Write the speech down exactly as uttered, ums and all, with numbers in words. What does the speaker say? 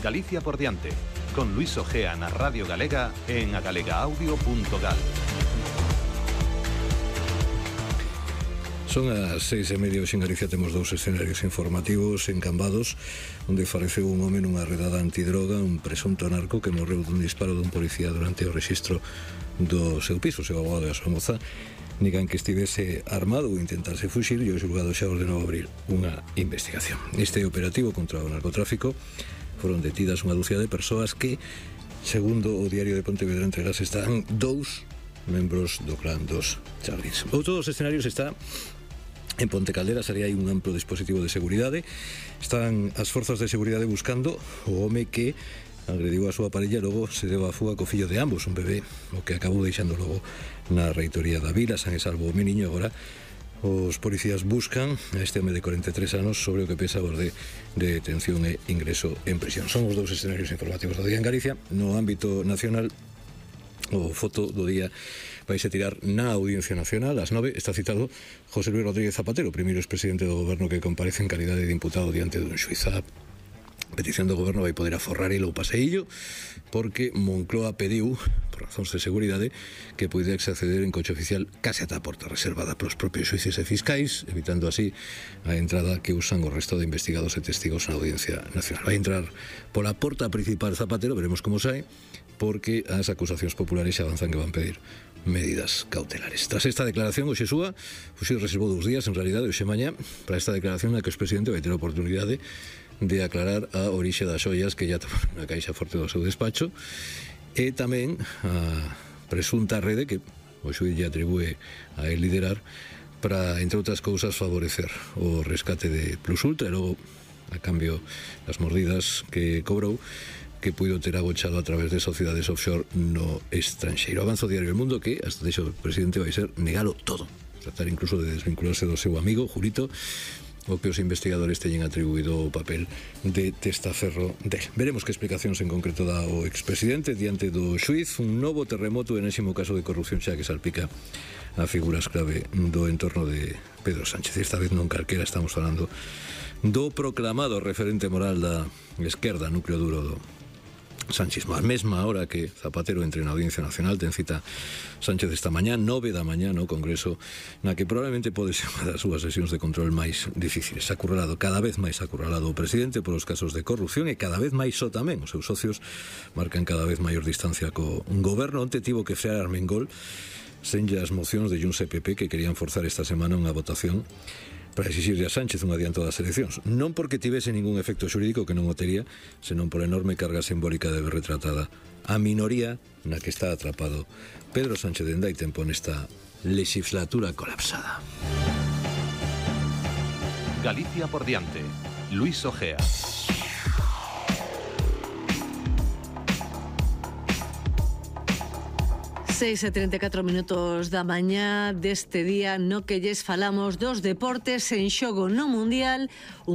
Galicia por diante, con Luis Ojea na Radio Galega en agalegaaudio punto gal. Son as seis e media, hoxe en Galicia temos dous escenarios informativos encambados, onde faleceu un home nunha redada antidroga, un presunto narco que morreu dun disparo dun policía durante o rexistro do seu piso. O seu abogado e a súa moza negan que estivese armado ou intentase fuxir, e o xulgado xa ordenou abrir unha investigación. Neste operativo contra o narcotráfico foron detidas unha dúcia de persoas que, segundo o Diario de Pontevedra, entre elas están dous membros do clan dos Charlins. Outro dos escenarios está en Ponte Calderas. Aí hai un amplo dispositivo de seguridade. Están as forzas de seguridade buscando o home que agrediu a súa parella e logo se deu a fuga co fillo de ambos, un bebé, o que acabou deixando logo na reitoría da vila. San e salvo o meniño. Agora os policías buscan a este home de corenta e tres anos sobre o que pesa por de, de detención e ingreso en prisión. Son os dous escenarios informativos do día en Galicia. No ámbito nacional, o foto do día vais a tirar na Audiencia Nacional. Ás nove está citado José Luis Rodríguez Zapatero, o primeiro expresidente do goberno que comparece en calidade de imputado diante dun xuiz. A petición do goberno vai poder aforrar el o paseillo porque Moncloa pediu, por razóns de seguridade, que poidese acceder en coche oficial case ata a porta reservada polos propios xuíces e fiscais, evitando así a entrada que usan o resto de investigados e testigos na Audiencia Nacional. Vai entrar pola porta principal Zapatero, veremos como sai, porque as acusacións populares xa avanzan que van pedir medidas cautelares. Tras esta declaración, o Xesúa Fuxir reservou dous días, en realidade, hoxe mañá, para esta declaración na que o expresidente vai ter a oportunidade de aclarar a orixe das xoias que ya tomaron na caixa forte do seu despacho, e tamén a presunta rede que o xuiz lle atribúe a el liderar para, entre outras cousas, favorecer o rescate de Plus Ultra e logo, a cambio das mordidas que cobrou, que puido ter agochado a través de sociedades offshore no estranxeiro. Avanza o Diario El Mundo que, hasta deixo o presidente, vai ser negalo todo, tratar incluso de desvincularse do seu amigo Julito, o que os investigadores teñen atribuído o papel de testaferro del. Veremos que explicacións en concreto dá o expresidente diante do xuiz. Un novo terremoto, enésimo caso de corrupción xa que salpica a figuras clave do entorno de Pedro Sánchez. Esta vez non calquera, estamos falando do proclamado referente moral da esquerda, núcleo duro do sanchismo. A mesma hora que Zapatero entre na Audiencia Nacional, ten cita Sánchez esta mañá, nove da mañá no Congreso, na que probablemente pode ser unha das súas sesións de control máis difíciles. Acurralado, cada vez máis acurralado o presidente polos casos de corrupción, e cada vez máis só tamén os seus socios marcan cada vez maior distancia co goberno. Onte tivo que frear Armengol senlle as mocións de Junts e P P que querían forzar esta semana unha votación para exixirle a Sánchez un adianto das eleccións, non porque tivese ningún efecto xurídico, que non o tería, senón por enorme carga simbólica de ver retratada a minoría na que está atrapado Pedro Sánchez dende hai tempo nesta legislatura colapsada. Galicia por diante, Luis Ojea. seis e treinta e catro minutos da mañá deste día no que lles falamos dos deportes en xogo no Mundial. Un